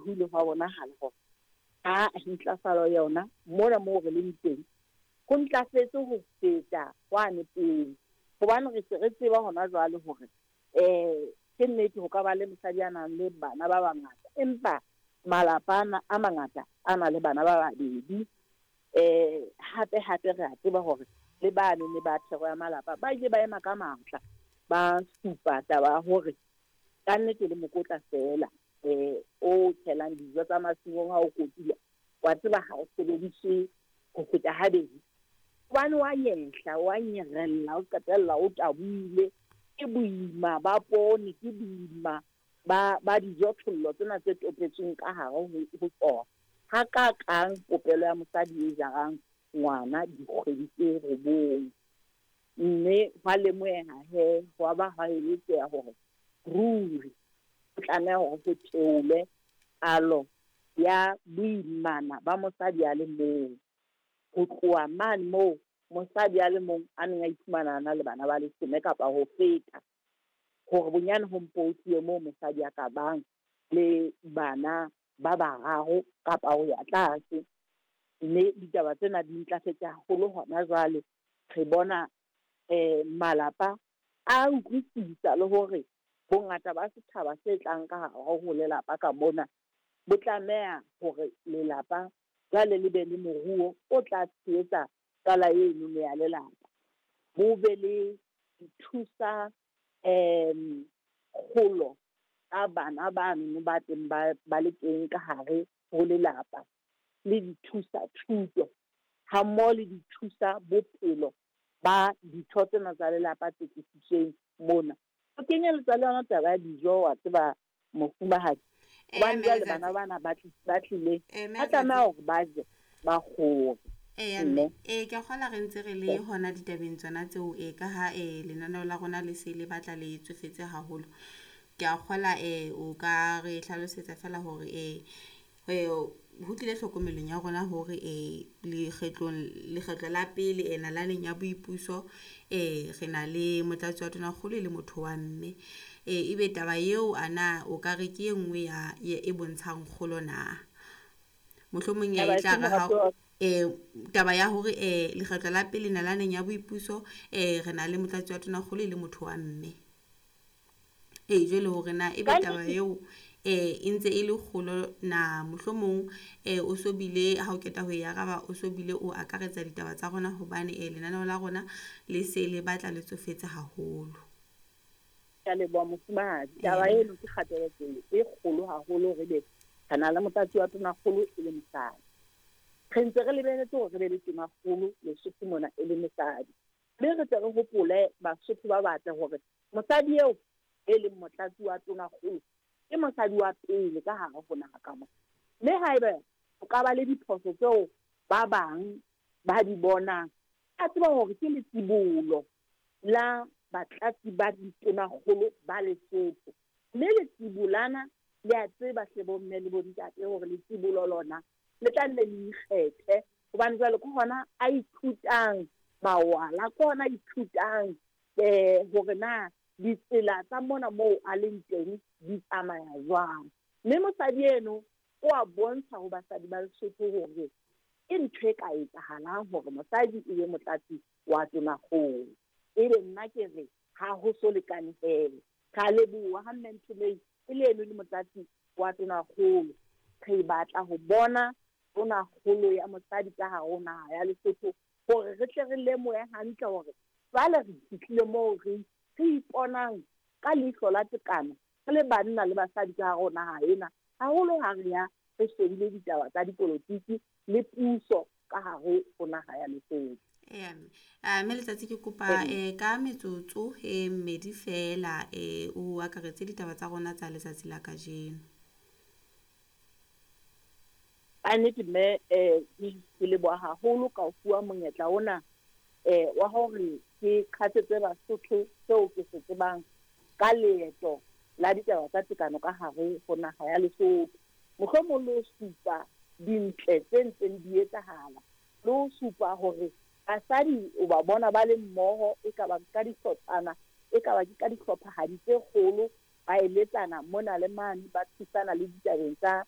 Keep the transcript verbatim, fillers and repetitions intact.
ho ile hwa bonahala hore ha ntlafalo yona mona moo re leng teng ho ntlafetse ho feta hwane pele. Hobane re se re tseba hona jwale hore um ke nnete ho ka ba le mosadi a nang le bana ba bangata, empa malapa ana a mangata a na le bana ba babedi. Um hape hape re a tseba hore le bane ne ba thero ya malapa ba ile ba ema ka matla, ba supa taba ya hore ka nnete le mokotla feela um o tshelang dijo tsa masimong ha o kotula, wa tseba ha o sebediswe ho feta habedi. Hobane wa nyehla, wa nyerella, o qetella o tabohile. Ke boima ba poone, ke boima ba ba dijothollo tsena tse topetsweng ka hare ho ho tsona. Hakakang popelo ya mosadi e jarang ngwana dikgwedi tse robong. Mme hwa lemoheha he, hwa ba hwa eletseha hore ruri ho tlameha hore ho theolwe palo ya boimana ba mosadi a le mong. Ho tloha mane moo mosadi a le mong a neng a iphumana a na le bana ba leshome kapa ho feta, hore bonyane ho mpo ho tluwe moo mosadi a ka bang le bana ba bararo kapa ho ya tlase. Mme ditaba tsena di ntlafetse haholo hona jwale. Re bona um malapa a utlwisisa le hore bongata ba setjhaba se tlang ka hare ho lelapa ka mona bo tlameha hore lelapa jwale le be le moruo o tla tshehetsa tswala eno ya lelapa. Bo be le dithusa um kgolo tsa bana bano ba teng ba ba le teng ka hare ho lelapa, le dithusa thuto ha mmoho le dithusa bophelo ba ditho tsena tsa lelapa tse tlisitsweng mona. Ho kenyeletsa le yona taba ya dijo, wa tseba mofumahadi. Eh, Hobane jwale Mme bana bana ba tli- ba tlileng, Eh, Mme ba tlameha hore ba je, ba kgore. Eya Mme. mme eh ke a kgolwa re ntse re le hona ditabeng tsona tseo eh ka ha eh lenaneo la rona le se le batla le tsofetse haholo. Ke a kgolwa eh o ka re hlalosetsa feela hore eh eh ho tlile hlokomelong ya rona hore eh lekgetlong lekgetlo la pele eh nalaneng ya boipuso eh re na le motlatsi wa tonakgolo e le motho wa mme. Eh ebe taba eo ana o ka re ke e nngwe ya e bontshang kgolo na? Mohlomong Taba e e tla feng re ha moratuwa wa ka? eh taba ya hore eh lekgetlo la pele nalaneng ya boipuso eh re na le motlatsi wa tonakgolo e le motho wa mme. Ee jwale hore na ebe Ka taba nnete eo eh e ntse e le kgolo na, mohlomong eh o so bile ha o qeta ho e araba o so bile o akaretsa ditaba tsa rona hobane eh lenaneo la rona le se le batla le tsofetse haholo. Ke a leboha mofumahadi. Taba Ee. eno ke kgatelopele e kgolo haholo hore ebe re na le motlatsi wa tonakgolo e le mosadi. Re ntse re lebeletse hore re be le tonakgolo Lesotho mona e le mosadi. Mme re tle re hopole Basotho ba batle hore mosadi eo e leng motlatsi wa tonakgolo ke mosadi wa pele ka hare ho naha ka mona. Mme haeba ho ka ba le diphoso tseo ba bang ba di bonang, a tseba hore ke letsibolo la batlatsi ba ditonakgolo ba Lesotho. Mme letsibolana le a tseba hle bomme le bontate hore letsibolo lona le tla nne le ikgethe, hobane jwale ke hona a ithutang mawala, ke hona a ithutang um hore na ditsela tsa mona moo a leng teng di tsamaya jwang. Mme mosadi eno o a bontsha ho basadi ba Lesotho hore ke ntho e ka etsahalang hore mosadi e be motlatsi wa tonakgolo. Ebe nna ke re ha ho so lekane feela. Re a leboha ha Mme Nthomeng e le eno le motlatsi wa tonakgolo. Re batla ho bona tonakgolo ya mosadi ka hare ho naha ya Lesotho hore re tle re lemohe hantle hore jwale re fihlile moo re re iponang ka leihlo la tekano re le banna le basadi ka hare ho naha ena, haholo ha re ya re shebile ditaba tsa dipolotiki le puso ka hare ho naha ya Lesotho. Eya mme. Ah, mme Letsatsi ke kopa eh ka metsotso e mmedi feela eh o akaretse ditaba tsa rona tsa letsatsi la kajeno. Ka nnete mme eh ke leboha haholo ka ho fuwa monyetla ona eh wa hore ke qhatsetse Basotho seo ke se tsebang ka leeto la ditaba tsa tekano ka hare ho naha ya Lesotho. Mohlomong le ho supa dintle tse ntseng di etsahala, le ho supa hore basadi o ba bona ba le mmoho, e ka ba ka dihlotshwana, e ka ba ke ka dihlophahadi tse kgolo, ba eletsana mona le mane, ba thusana le ditabeng tsa